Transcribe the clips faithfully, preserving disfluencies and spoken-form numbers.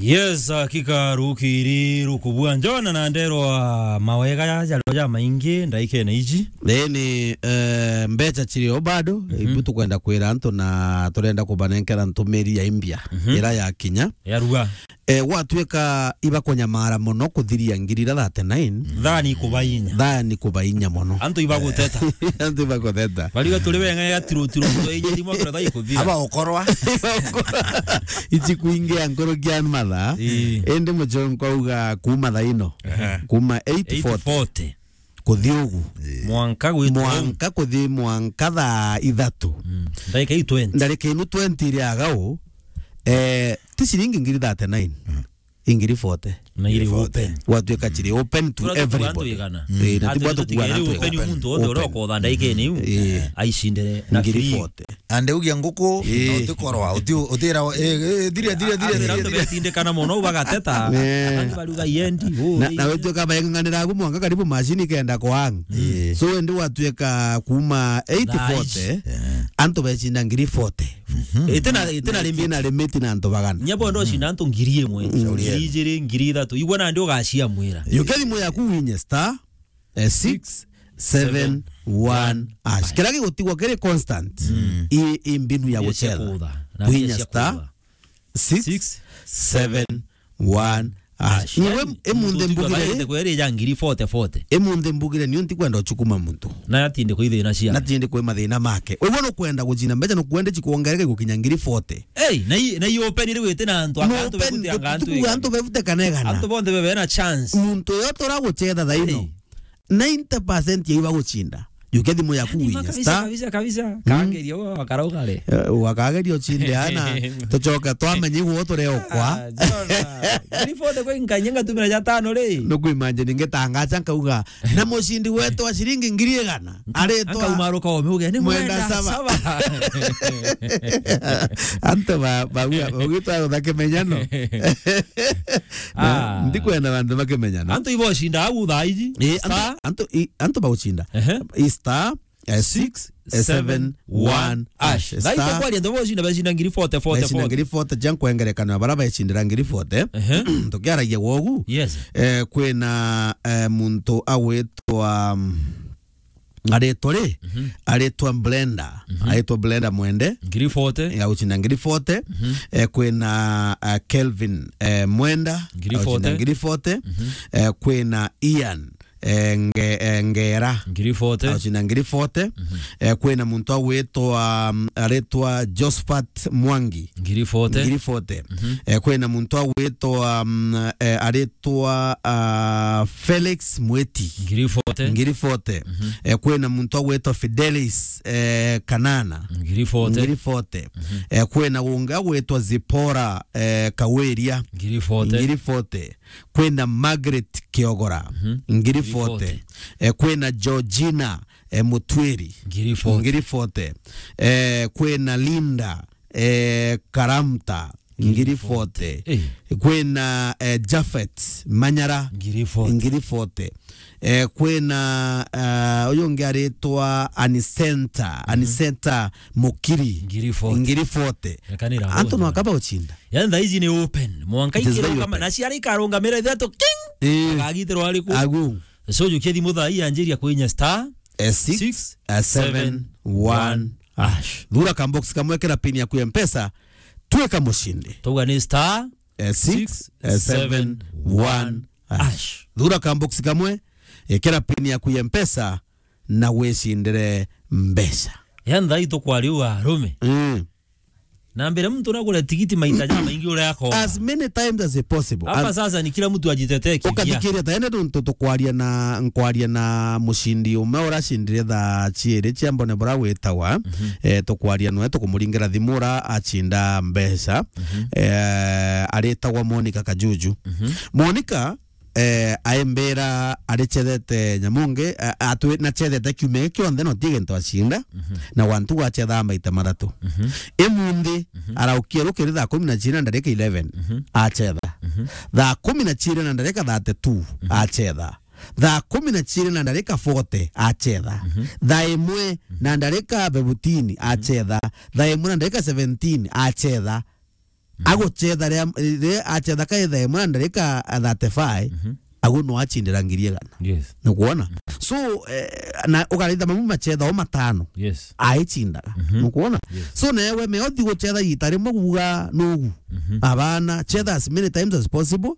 Yes, hakika rukiri rukubua njona na nderwa mawega ya jario ja maingi ndaikene iji. Ii ni, eh, mbecha cirio bado, ibu tukwenda kwira antu na turenda kubanenkera ntumiri ya imbia, ira ya kinya. Ya ruga. Eh, gwatuika ibakunyamara mono kuthiria ngiri ira thirty-nine. Thani kubainya. Thani kubainya mono. Antu ibaguteta. Antu ibaguteta. Bariga turi wenga ya tiru tiru, turi inye rimwe kura thai kuthira. Aba ukorwa. Ici kuingia nkurukia mathaa. Ii. Indi muchonko auga kuma thaa ino. Ehe. Kuma eight forty. Eight forty. Kuthi ugu. Mwanka gwitwa. Mwanka kuthi mwanka thaa ithatu. Mm. Ndagika i twenty. Ndarika inu twenty iri agau, eh, ti ciringi ngiri thirty-nine. Mm. Ingiri forty. Na iri open. Gwatuika ciri open to everybody. Ii, na tibwa tukuga na antu open igana. Muntu wothe uria ukotha ndaika inu, eh, aicindire na ngiri forty. Ande ugia nguku, ii, na utikorwa, uti-, utira, eh, eh, thiria, thiria, thiria, thiria, thiria. Betindikana mono, bagateta. Eh. Angi baruga iendi, na, na wetuika baeng'ang'anira agu mwanka karibu machine ikenda kwang. Ii. So, indi gwatuika kuma eight forty, antu becinda ngiri forty. Itina, itina limit. Itina limit na antu bagana. Nya bondo cinda antu ngiri imwe, ngiri ijiri, ngiri ithatu. Igua nandi ugaciamwira. Yuke thimu yaku winye star, eh, six seven one hash. Kira gigutigwa kiri constant, i, i mbinu ya gucetha. Winye star six seven one hash. Iwe emunthe mbugire, kweri ya ngiri forty forty. Emunthe mbugire ni unti kwenda uchukuma muntu. Na atinde kwithina cia. Na atinde kwi mathina make. Wewe no kwenda gucina mbeca, no kwenda chikuongereke gukinya ngiri forty. Ei, na i, na i open ri wite na antu, no antu open, bebute anga antu tukuga igana. Antu bebute kana igana. Antu bonthe bebe na chance. Muntu yo tora gucetha thaino. Ei. Ninety percent ya iba gucinda. Yuke thimu yaku winye kabisa, star. Kabisa, kabisa. Mm. Kageria wo akarauga ri. Eh, wakageria ucinde ana. Tucoke twamenye igwo tureokwa. Ah, Jona. Ngiri forty kwi nkanye ngatumira ja tano ri. No kuimagine ngitangacha nkauga, na mucindi wetu wa ciringi ngiri igana. Aritwa. Akaumaruka ome uge, ni mwenda saba. Antu ba, ba, ba, bagwitwa utha kimenyano. Ah. Ndikwenda bantu bakimenyana. Antu ibo cinda au thaa iji. Eh, antu, star, antu, i, antu bagucinda. Ehe. I star, eh, six seven one hash. Star. Thaa iji kwaria antu bagucinda, bacinda ngiri forty, forty, bacinda forty. Ngiri forty, ja nkwengerekano ya bara becindira ngiri forty. Ehe. Tukiaragia gwogu. Yes. Eh, kwina, eh, muntu agwitwa, mm, aritwa ri, mhm, aritwa Brenda, mhm, aritwa Brenda Mwende. Ngiri forty. Eh, agucinda ngiri forty. Mhm. Eh, kwina, ah, Kelvin, eh, Mwenda, ngiri forty. Agucinda ngiri forty. Mhm. Eh, kwina Ian, eh, Nge-, eh, Ngera. Ngiri forty. Agucinda ngiri forty. Mhm. Eh, kwina muntu agwitwa, um, aritwa Josephat Mwangi. Ngiri forty. Ngiri forty. Mhm. Eh, kwina muntu agwitwa, um, eh, aritwa, ah, Felix Mwiti. Ngiri forty. Ngiri forty. Mhm. Eh, kwina muntu agwitwa Fidelis, eh, Kanana. Ngiri forty. Ngiri forty. Mhm. Eh, kwina ungi agwitwa Zipora, eh, Kawiria. Ngiri forty. Ngiri forty. Kwina Margaret Kiogora. Mhm. Ngiri forty. Ngiri forty. Eh, kwina Georgina, eh, Mutwiri. Ngiri forty. Ngiri forty. Eh, kwina Linda, eh, Karamta. Ngiri forty. Eh. Kwina, eh, Japhet Manyara. Ngiri forty. Ngiri forty. Eh, kwina, eh, uyu ungi aritwa Anisenta, mhm, Anisenta Mukiri. Ngiri forty. Ngiri forty. Antu no akaba ucinda. Yani thaa iji ni open. Mwanka ikiruka ma-, na ciara ikarungamira ithatu king. Eh. Akagitirwa ariku. Agu. So jukia thimu thaa ii anjiria kwinya star, eh, six, eh, seven, one hash. Thura ka box kamwe, kira pin yaku ya Mpesa, twika mucindi. Tuga ni star, eh, six, eh, seven, one hash. Thura ka box kamwe, eh, kira pin yaku ya Mpesa, na wicindire mbeca. Yani thaa ii tukwariu arume. Mm. Na mbere muntu nagure tigiti maita jamaingi uria akona. As many times as possible. Hapa sasa ni kila mtu ajitetee kivyake. Ukathikiria ta ene nontu tukwaria na, nkwaria na mucindi umwe uria acindire thaa ciiri cia mbone bura witawa. Mhm. Eh, tukwaria nwe tukumuringira thimu uria acinda mbeca. Mhm. Eh, aritagwa Monica Kajuju. Mhm. Monica eh, aimbira aricethete nyamu ngi, a-, atwi-, nacethete kiumia giki kionthe na uti gintu acinda, mhm, na wantu gwacethaa maita mathatu. Mhm. Imunthi, mhm, araukia rukiri thaa kumi na ciiri na ndarika eleven, mhm, acetha. Mhm. Thaa kumi na ciiri na ndarika thirty-two, mhm, acetha. Thaa kumi na ciiri na ndarika forty, acetha. Mhm. Thaa imwe, mhm, na ndarika fifteen, mhm, acetha. Thaa imwe na ndarika seventeen, acetha. Agucetha ria, ri-, acetha ka ithaa imwe na ndarika thirty-five, Mhm. agu no acindira ngiri igana. Yes. Nukwona? So, eh, na ugaritha mamu macetha o matano. Yes. Aicindaga. Mhm. Nukwona? Yes. So, newe me othi gucetha ita rimwe kuuga nugu. Mhm. Abana, cetha as many times as possible.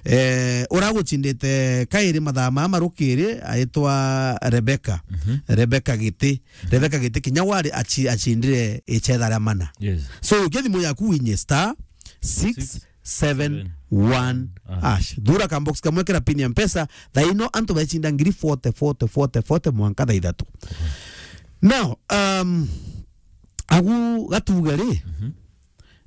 Eh, ura gucindite kairi mathaa maa marukiri aitwa Rebecca. Mhm. Rebecca Giti. Rebecca Giti kinya wari aci-, acindire icetha ria mana. Yes. So, ukia thimu yaku winye star six seven one hash. Thura ka box kamwe kira pin ya Mpesa, thaa ino antu bacinda ngiri forty, forty, forty, forty mwanka thaa ithatu. Now, um, agu gatuga ri, Mhm.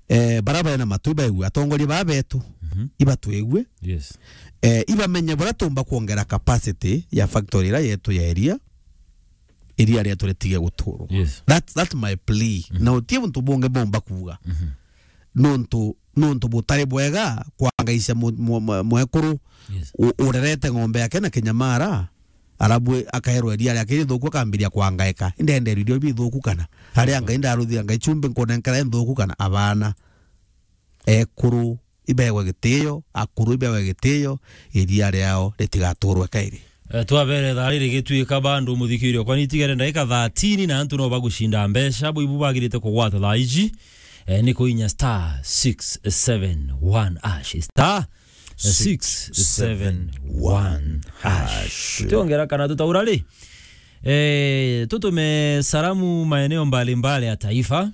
eh, bara bena matu ibaigue, atongoria baa betu, Mhm. ibatwigue. Yes. Eh, ibamenye buria tumba kwongera capacity ya factory ira yetu ya iria, iria rietu ritige guturwa. Yes. That, that's my plea. Mhm. Na utie untu bungi bomba kuuga. Mhm. Nontu, nontu butari bwega kwangaisha mu-, mu-, mu-, mwekuru Yes. u-, urerete ng'ombe yake na kinyamara, arabu akaerwa iria riake rithuku akambiria kwangaika. Indenderwa irio bithuku kana? Aria Ngai ndaruthira Ngai chumbi nkunenkera nthuku kana? Abana. Ekuru ibewe gitio, akuru ibewe gitio, iria riao ritigaturwe kairi. Eh, twabere thaa riri gituika bandu muthikirio, kwani itigere ndagika thirteen na antu no bagucinda mbeca, bo ibu bagirite kugwata thaa iji, eh, ni kuinya star six seven one hash, star six seven one hash. Tutiongera kana tutaura ri? Eh, tutume salamu maeneo mbalimbali ya taifa.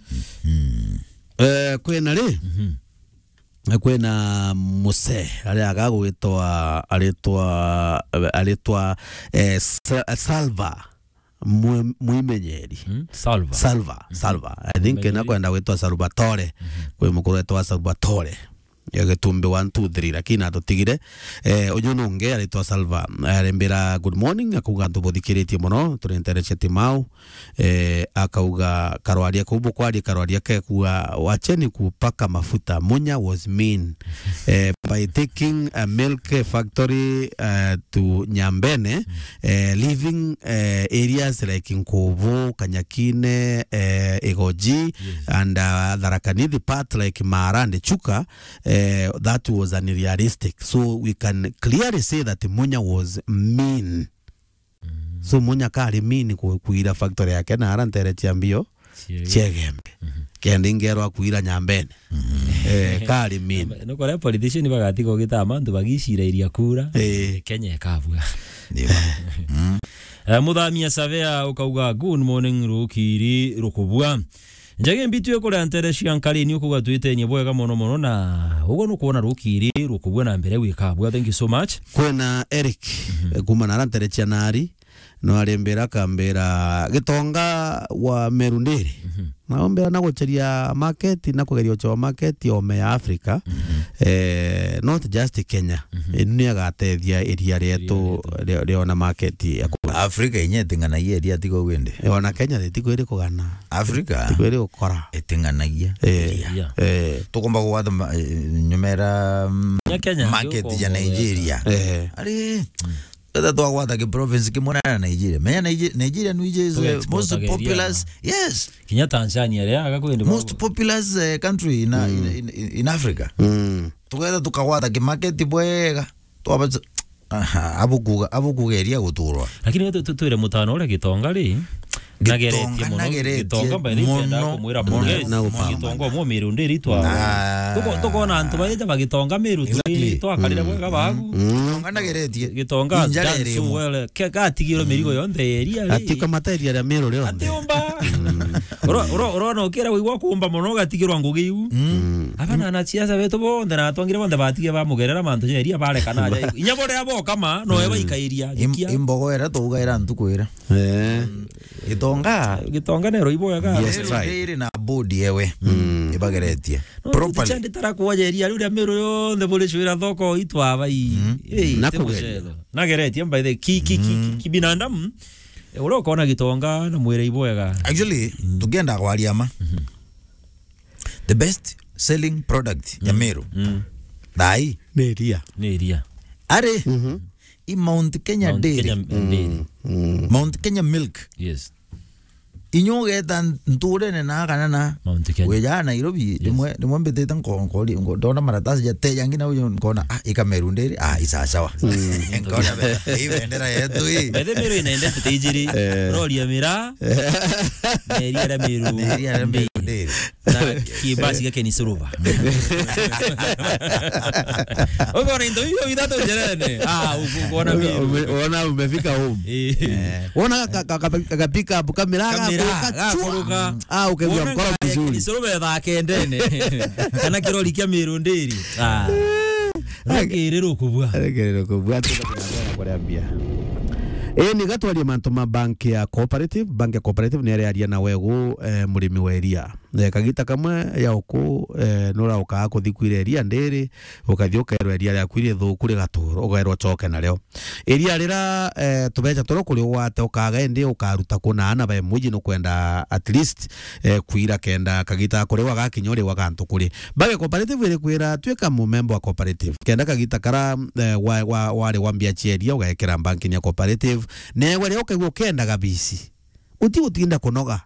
Eh, kwina ri? Mhm. Kwina muse aria agagwitwa, aritwa, aritwa, eh, Sa-, Salva Mwi-, Mwimenyeri. Mm, Salva. Salva, Mhm. Salva. I think Mwimenyeri. Nakwenda gwitwa Salvatore. Mhm. Kwi mukuru wetwa Salvatore. Ya Gitumbi one two three, lakini atutigire. Eh, uyu nungi aritwa Salva. Arembira, "Good morning," akuga, "Ntubuthikiritie muno, turinterecia Timau." Eh, akauga karwaria kau bukwaria karwaria kekua, "Wacheni kupaka mafuta, Munya was mean." Eh, by taking a milk factory, eh, to Nyambene, eh, leaving, eh, areas like Nkubu, Kanyakine, eh, Igoji, Yes. and, uh, Tharaka Nithi part like Mara and Chuka, eh, that was unrealistic. So we can clearly say that Munya was mean. Mm. So Munya kari mean ku-, kuira factory yake na ara ntere cia mbio Ciege. Ciegembe. Mhm. Kenda ingerwa kuira Nyambene. Mhm. Eh, kari mean. Nukore politician bagatiga ugita mantu bagicira iria kura. Eh. Kenya ikabua. Ndio. Mm. Eh, Muthamia Savea ukauga, "Good morning, rukiri rukubua." Njagi mbitu ikuria ntere cia Nkarini ukuga twitenie bwega mono mono na uguo nukwona rukiri rukubua na mbere gwikabua. Thank you so much. Kwina Eric, Mhm. eh, kuma na ara ntere cia Nari, no arembera akambira Gitonga wa Meru ndiri. Mhm. Na ombera na gucheria market na kugeria uchewa market ome ya Africa. Mhm. Eh, not just Kenya. Mhm. Inu ni agatethia iria rietu Iria rietu. rio-, riona market ya ku- Africa inya iting'anagia iria tiga ugu indi. Eh, ona Kenya itikwiri kugana. Africa Tikwiri gukora. Iting'anagia Eh, iria. Yeah. Eh. Tukomba kugwata ma-, eh, nyumera, mm, Nya Kenya, market ya tukomba Nigeria. Eh. Ari, Mm. Etha twagwata ki province kimwe na Nigeria. Menya Nigeria, Nigeria nwiji is the most Tuexportaga iria populous. Yes. Kinya Tanzania ria aga kwende Most populous, eh, country in, in, in, in Africa. Mm. Tugetha tukagwata ki market bwega. Twaba, aha, abukuga, abukugeria guturwa. Lakini tu-, tu-, twire mutano uria Gitonga ri, Gitonga nageretie muno. Nageretie Gitonga by the way, muno, ndenda kumwira muno, pongezi. Na gupamba. Gitonga umwe miru ndiri twa. Ah. Tuko-, tukona antu baite bagitonga miru Exactly. Twakarire bwega bagu. Mm. Gitonga nageretie. Gitonga has done so well. Ke-, gatigirwe mirigo yonthe ya iria ri. Ati kamata iria ria miru rionthe. Ati umba. Uro-, uro-, urona ukira wigwa kumba muno ugatigirwa ngugi iu. Mm. Aba na anasiasa betu bonthe na atongire bonthe batige bamugerera mantu ja iria barekana aja. Inya boria bokama, no eba ikairia. Im-, Gikia. Imbogo era tugaira ntuku ira. Eh. Gitonga. Gitonga nero iboyaga. Yes, Nero right. Ndiri na board yewe. Mm. Ibageretie. No, properly. Nditara kuojeria riu ria miru yonthe buri cwira thoko itwa bai. Mm. Ei, Na ti kugeria. Mucetho. Nageretie by the ki-, ki-, ki-, Mm. ki-, kibinadamu. Eh, uria ukona Gitonga na mwire iboyaga. Actually, Mm. tukienda kwaria ma. Mhm. The best selling product ya Mm. Meru. Mm. Thai. Ni iria. Ni iria. Ari. Mhm. I Mount Kenya Mount Dairy. Kenya Dairy. Mm, mm. Mount Kenya Milk. Yes. Inya ugeta nturene na kana na Mount Kenya. Wejaa Nairobi, rimwe, rimwe mbitite nko-, nkori-, ngo-, ndona maratasi jateja ngi na uyu nkona, ah, ika Meru ndiri, ah, isasawa. Nkona be-, hii bendera yetu hii. Bethe Meru inaendete tijiri. Eh. Rori ya mira. Na iria ria Meru. Na iria ria Meru ndiri. Na kibasi gake ni suruba. Uko na into hiyo vitatu jerene. Ah, uko, uko na Meru. Ume-, uona umefika home. Eh. Eh. Wona ka, ka, ka, ka pick up kamera. Kamera, gakuruka. Ah, ukaigua mkoro vizuri. Kisorobetha kendene. Kana kirori kia Meru ndiri. Ah. Rukiri rukubua. Rukiri rukubua. Ati na kuria mbia. Ii, ni gatwarie mantu ma bank ya Cooperative. Bank ya Cooperative ni iraria na wegu, eh, murimi wa iria. Eh, kagita kamwe ya uku, eh, nuraukaa kuthi kwira iria ndiri, ukathi ukerwa iria riaku iri thuku rigaturwa, ugairwa ucoke nario. Iria rira, eh, tubeca turia kuri ugwate ukaga indi ukaruta kuna ana ba mwiji nukwenda at least, eh, kwira kenda kagita kuri wagakinya uri wagantu kuri. Bank ya Cooperative iri kwira twika mumemba wa Cooperative. Kenda kagita kara, eh, wa, wa, wari wa mbia cia iria ugekira bank ya Cooperative. Newe ria ukaigua ukenda gabisi. Uti gutinda kunoga.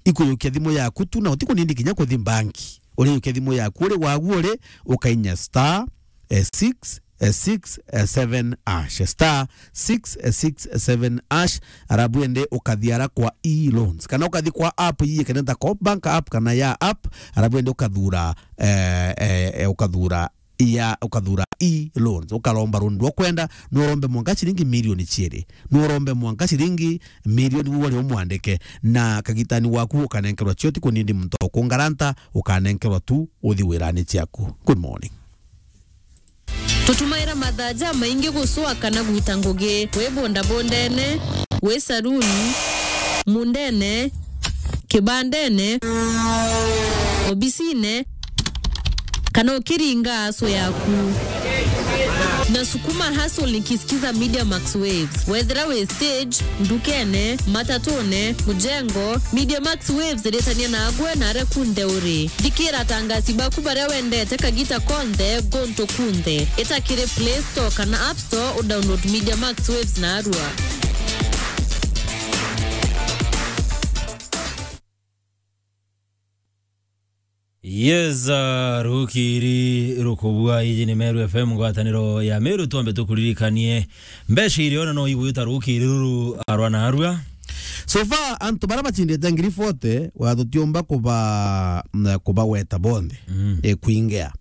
Ikuyukia thimu yaku tu na uti kunindi kinya kuthi banki. Uriyukia thimu yaku uri wagu uri, ukainya star, eh, six, eh, six, eh, seven hash. Star six, eh, six, eh, seven hash. Arabu ende ukathiara kwa e-loans. Kana ukathi kwa app yiye kenda ta Coop Bank app kana ya app. Arabu ende ukathura, eh, eh, eh, ukathura ya, ukathura e-loans, ukaromba loan rwa kwenda, no urombe mwanka ciringi milioni ciiri, no urombe mwanka ciringi milioni, we uri umwandike, na kagitani waku ukanenkerwa cio, ti kunindi muntu ukungaranta, ukanenkerwa tu uthi wirani ciaku. Good morning. Tutumaira mathaa jamaingi gucwa kana gwita ngugi, wi bondabondene, wi saruni, mundene, kibandene, obisine, kana ukiringa aso yaku. Na sukuma hustle nikisikiza Media Max Waves. Wethira wi stage, ndukene, matatune, mujengo, Media Max Waves iritania nagwe na aria kunthe uri. Thikira atangasi baku baria wendete kagita konthe, guntu kunthe. Ita kiri Play Store kana App Store, udownload Media Max Waves narua. Yes, uh, rukiri rukubua, iji ni Meru F M, ngwataniro ya Meru. Twambe tukuririkanie mbeca iria ona no igwita rukiri ruru arwa na arua. So far, antu baria bachindite ngiri forty, wa tutiumba kuba, mm, kubaweta bonthe, mm, e kwingea.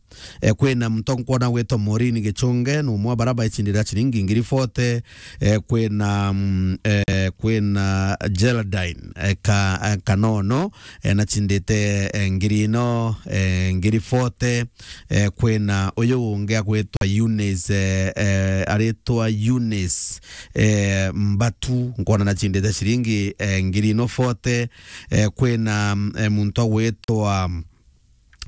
Eh, kwina muntu nkwona gwitwa Maureen Gichunge, ni umwe wa baria baicindira ciringi ngiri forty. Eh, kwina, mm, eh, kwina Geraldine, eh, ka, eh, Kanono, eh, nachindite, eh, ngiri ino, eh, ngiri forty. Eh, kwina uyu ungi agwitwa Eunice, eh, eh, aritwa Eunice, eh, Mbatu, nkwona nachindite ciringi, eh, ngiri ino forty. Eh, kwina, mm, eh, muntu agwitwa, mm,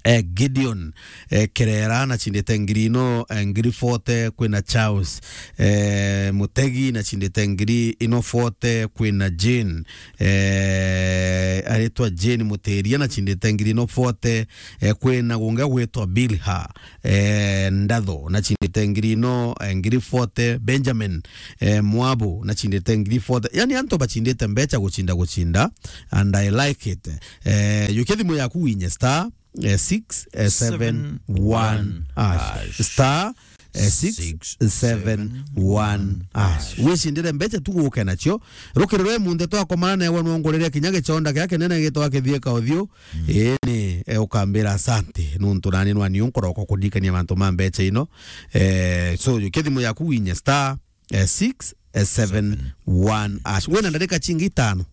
eh, Gideon, eh, Kerera, nachindite ngiri ino, eh, ngiri forty. Kwina Charles, eh, Mutegi, nachindite ngiri ino forty. Kwina Jane, eh, aritwa Jane Mutiria, nachindite ngiri ino forty. Eh, kwina gungi gwitwa Bilha, eh, Ndatho, nachindite ngiri ino, eh, ngiri forty. Benjamin, eh, Mwabu, nachindite ngiri forty. Yani antu bachindite mbeca guchinda guchinda, and I like it. Eh, yukia thimu yaku winye star, eh, six seven one hash. Star, eh, six seven one hash. Wicindire mbeca tu guke nacio. Rukiri rwe munthe twakomana newe nwongorere kinya gichonda kia kinene gitwa kithieka uthiu. Mm. Ii ni, eh, ukambira asante. Nuntu nani nwani unkorokwa kuririkania mantu ma mbeca ino. Eh, so, yukia thimu yaku winye star, eh, six seven one hash. Wina ndarika cingi itano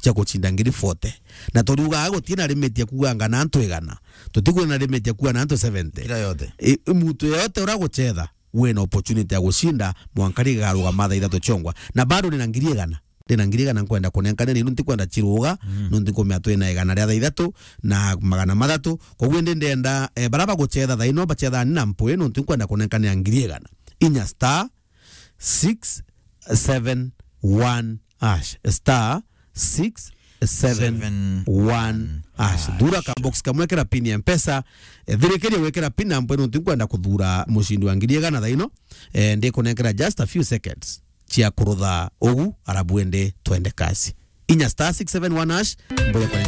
cia gucinda ngiri forty. Na turiugaga gutina limit ya kuuga ngana antu igana. Tutikwina limit ya kuuga na antu seventy. Kila yote. I, i muntu yote ura gucetha, wina opportunity ya gucinda, mwanka rigarugama thaa ithatu ciongwa. Na bado nina ngiri igana. Ndina ngiri igana nkwenda kunenkania, na ino ntikwenda ciruga, mm, nuntu nkumea twina igana ria thaa ithatu na magana mathatu. Koguo indi ndenda, eh, baria bagucetha thaa ino, bacethani na mpwi, nuntu nkwenda kunenkania ngiri igana. Inya star six seven one hash. Star six seven one hash. Thura ka box kamwe, kira pin ya Mpesa. Eh, thirikiria gwikira pin na mpwi, nuntu nkwenda kuthura mucindi wa ngiri igana thaa ino. Eh, ndikunenkera just a few seconds cia kurutha ugu, arabu indi twende kasi. inya star six seven one hash, mboya kwa